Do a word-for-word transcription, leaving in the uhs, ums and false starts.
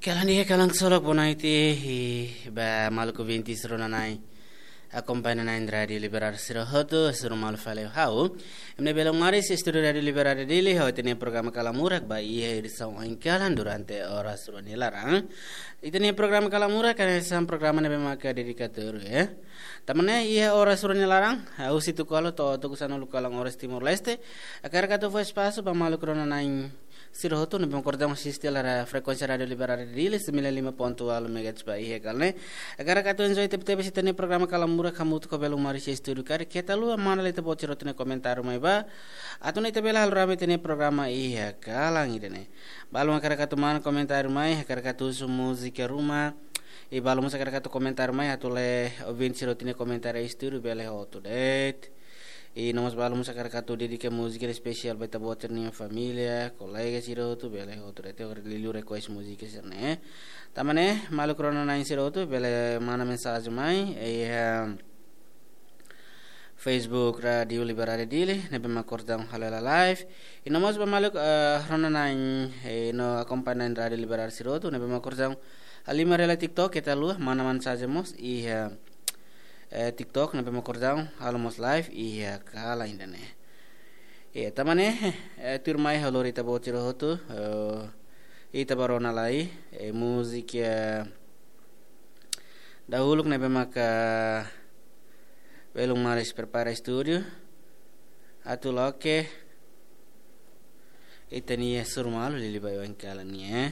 Kalan iha kalan solok bonaiti, ba maluk ouvintes rona-na'in akompaña na'in Rádiu Liberal sira hotu, suru malu fali ha'u. Imi ne'ebé maris estúdiu Rádiu Liberal Dili, ha'u ita-nia programa Kalan Murak ba iha edisaun oin kalan durante oras rua nia laran. Ita-nia programa Kalan Murak, kan esse programa ne'ebé maka dedikadu, eh. Tanba ne'e iha oras rua nia laran, ha'u sei tuku halo to'o tuku sanulu kalan oras Timor-Leste. Hakarak atu fó espasu ba maluk rona-na'in sira hotu ne'ebé maka kordang asiste hela frekuénsia Rádiu Liberal Dili sembilan lima ponto walu megahertz ba iha kalan ne'e. Hakarak atu enjoy tebe-tebes ita-nia programa Kalan Murak hamutuk ho belun maris estúdiu karik keta haluha mana ita-boot sira hotu nia komentáriu mai ba. Atu nune'e ita bele halo rame ita-nia programa iha kalan ida-ne'e. Balu hakarak atu mana komentáriu mai, hakarak atu husu múzika ruma. I balu mós hakarak atu komentáriu mai, atu lee ouvinte sira hotu nia komentáriu estúdiu bele hotu de'it. I no mós balu mós hakarak atu dedika múzika espesiál ba ita-boot sira-nia família, kolega sira hotu bele hotu de'it. Hakarak liuliu request múzika sira-ne'e. Tanba ne'e, maluk rona-na'in sira hotu bele mana mensajen mai, eh, Facebook Rádiu Liberal Dili, ne'ebé maka kordang halo hela live. I no mós ba maluk, eh, rona-na'in, eh, no akompaña na'in Rádiu Liberal sira hotu, ne'ebé maka kordang halimar hela TikTok, keta haluha mana mensajen mós iha, eh, TikTok, ne'ebé maka kordang halo mós live iha kalan ida-ne'e. Eh, tanba ne'e, eh, tuirmai ha'u lori ita-boot sira hotu, eh, ita bá rona lai, eh, múzika, eh, dahuluk ne'ebé maka belun maris prepara estúdiu atu loke ita-nia suru malu liuliu ba oin kalan ne'e, eh.